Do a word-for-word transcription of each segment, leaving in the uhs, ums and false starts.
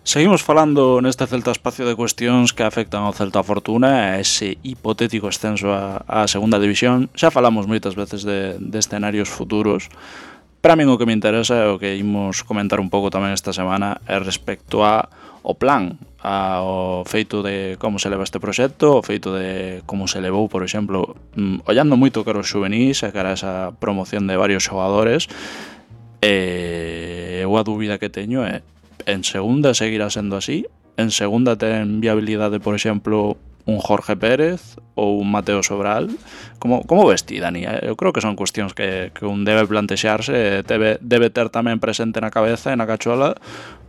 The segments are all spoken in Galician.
Seguimos falando neste Celta Espacio de cuestións que afectan ao Celta Fortuna e ese hipotético ascenso á, á segunda división. Xa falamos moitas veces de, de escenarios futuros. Para min o que me interesa é o que imos comentar un pouco tamén esta semana é respecto a o plan, ao feito de como se leva este proxecto, o feito de como se levou, por exemplo, ollando moito cara os xuvenís e cara a esa promoción de varios xogadores. E eu a dúbida que teño é: en segunda seguirá sendo así? En segunda ten viabilidade, por exemplo, un Jorge Pérez ou un Mateo Sobral? Como, como ves ti, Dani? Eu creo que son cuestións que, que un debe plantexarse e debe, debe ter tamén presente na cabeza e na cachola,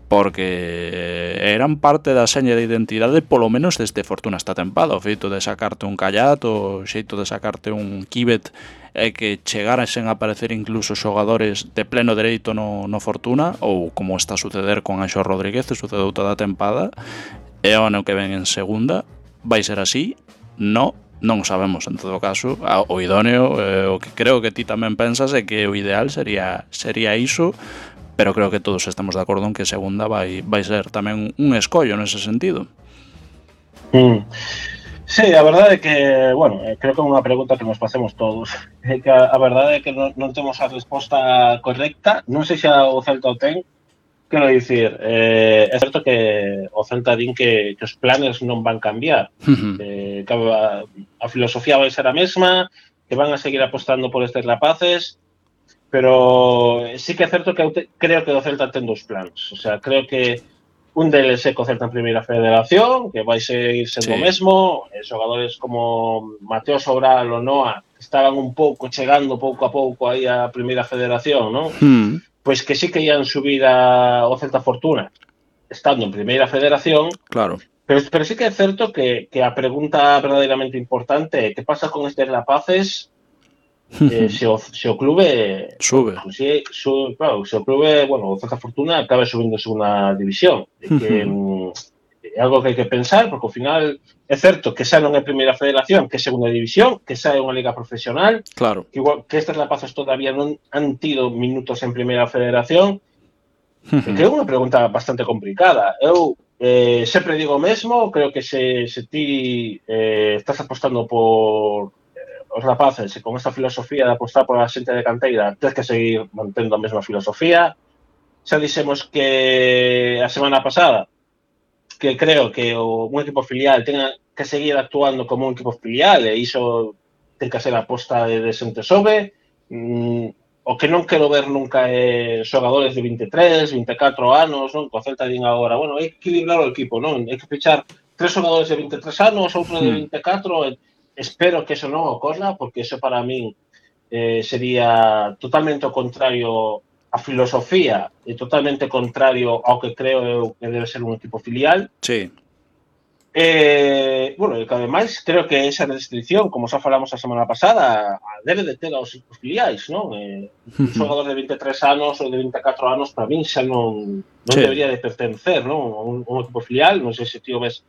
porque eran parte da seña de identidade, polo menos desde Fortuna esta tempada. O feito de sacarte un Callat, o xeito de sacarte un Kibet, é que chegarasen a aparecer incluso xogadores de pleno dereito no, no Fortuna, ou como está a suceder con Anxo Rodríguez, sucedeu toda a tempada, e o ano que ven en segunda vai ser así? No, non sabemos. En todo caso, o idóneo, eh, o que creo que ti tamén pensas é que o ideal sería sería iso, pero creo que todos estamos de acordo en que segunda vai, vai ser tamén un escollo nese sentido. Mm. Sí, a verdade é que, bueno, creo que é unha pregunta que nos facemos todos. É que a, a verdade é que non, non temos a resposta correcta. Non sei se o Celta o ten. Quero dicir, eh, é certo que o Celta din que, que os planes non van cambiar. Uh-huh. Eh, que a, a filosofía vai ser a mesma, que van a seguir apostando por estes rapaces, pero sí que é certo que eu te, creo que o Celta ten dos plans. O sea, creo que un deles é co Celta en Primeira Federación, que vai seguir sendo o sí. mesmo. E xogadores como Mateo Sobral ou Noa estaban un pouco chegando pouco a pouco aí a Primeira Federación, non? Uh-huh. Pois que sí que ian subir a, o Celta Fortuna estando en Primeira Federación. Claro. Pero, pero sí que é certo que, que a pregunta verdadeiramente importante é que pasa con estes rapaces eh, se, o, se o clube sube. Pues, si, su, claro, se o clube, bueno, o Celta Fortuna acabe subindo en segunda división. É que uh-huh. é algo que hai que pensar, porque ao final é certo que xa non é Primeira Federación, que é segunda división, que xa é unha liga profesional, claro. que, igual, que estes rapaces todavía non han tido minutos en Primeira Federación. Uh-huh. Que é unha pregunta bastante complicada. Eu eh, sempre digo o mesmo, creo que se, se ti eh, estás apostando por os rapaces e con esta filosofía de apostar por a xente de canteira, tens que seguir mantendo a mesma filosofía. Xa dixemos que a semana pasada que creo que o, un equipo filial tenga que seguir actuando como un equipo filial e iso ten que ser a aposta de, de xente sobe. Mm, o que non quero ver nunca é xogadores de vinte e tres, vinte e catro anos, non? Co Celta din agora, bueno, hai que equilibrar o equipo, non? Hai que fichar tres xogadores de vinte e tres anos, outro de vinte e catro, e espero que eso non ocorra, porque eso para min eh, sería totalmente o contrario a filosofía e totalmente contrario ao que creo eu que debe ser un equipo filial. Sí. Eh, bueno, e que ademais creo que esa restricción, como xa falamos a semana pasada, debe de ter aos equipos filiais, non? Eh, un xogador de vinte e tres anos ou de vinte e catro anos para min xa non, non sí. debería de pertencer, non? A un, un equipo filial, non sei se ti o ves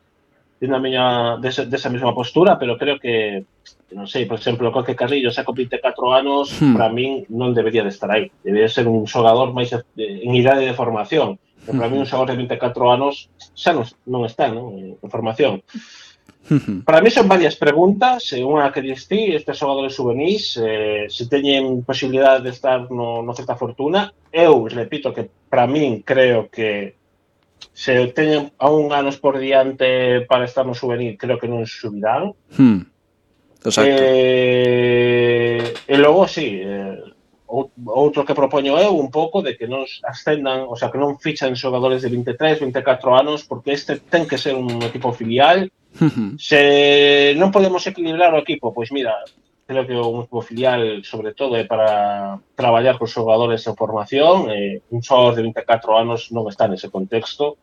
na miña desa, desa mesma postura, pero creo que, non sei, por exemplo, Coque Carrillo xa con vinte e catro anos, hmm. para min non debería de estar aí. Debería ser un xogador máis en idade de formación. Pero para min un xogador de vinte e catro anos xa non, non está, non? En formación. Para mí son varias preguntas. Unha que dis ti, estes xogadores juvenís, eh, se teñen posibilidade de estar no, no Celta Fortuna. Eu, repito, que para min creo que se teñen aún anos por diante para estar no juvenil, creo que non subirán. Hmm. Exacto. Eh, e logo, sí, eh, outro que propoño eu un pouco de que non ascendan, o sea, que non fichan xogadores de vinte e tres, vinte e catro anos, porque este ten que ser un equipo filial. Uh-huh. Se non podemos equilibrar o equipo, pois mira, creo que un equipo filial, sobre todo, é para traballar con xogadores en formación. Eh, un xogador de vinte e catro anos non está nese contexto.